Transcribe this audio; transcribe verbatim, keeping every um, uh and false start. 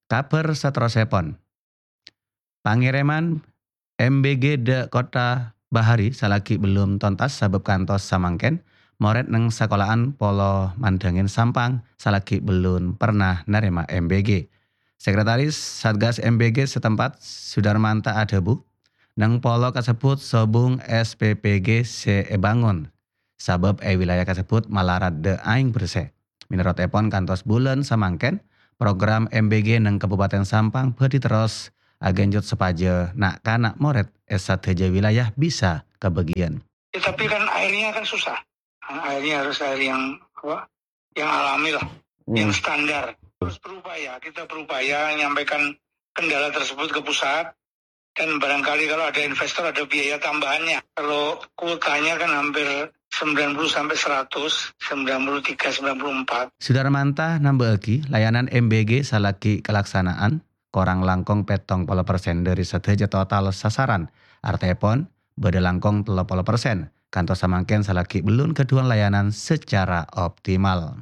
Kabhâr saterrossèpon. Pangèrèman M B G dâ' Kottha Bahari salaghi bellum tontas sabâb kantos samangkèn, morèd neng sakola'an Polo Mandangin Sampang salaghi bellum perna narèma M B G. Sekretaris Satgas M B G setempat, Sudarmanta adhâbu, neng polo kasebbhut sobung S P P G sè èbângon, sabâb è wilayah kasebbhut malarat dâ' aèng bersè. Mènorotèpon kantos bulân samangkèn, program M B G neng Kabupaten Sampang bhâdhi terros aghânjhut sopajâ na'-kana' morèd è sadhâjâ wilayah bisa kabâgiyân. Ya, tapi kan airnya kan susah. Nah, airnya harus air yang, apa, yang alami lah, yang Hmm. standar. Terus berupaya, kita berupaya menyampaikan kendala tersebut ke pusat. Dan barangkali kalau ada investor, ada biaya tambahannya. Kalau kuotanya kan hampir sembilan puluh sampai seratus, sembilan puluh tiga, sembilan puluh empat. Sudarmanta nambâ'âghi, layanan M B G salaghi kalaksana'an korang langkong pèttong polo persen dâri sadhâjâ total sasaran. Artèpon, bâdâ langkong tello polo persen. Kantos samangkèn salaghi bellun ghâdhuwân layanan secara optimal.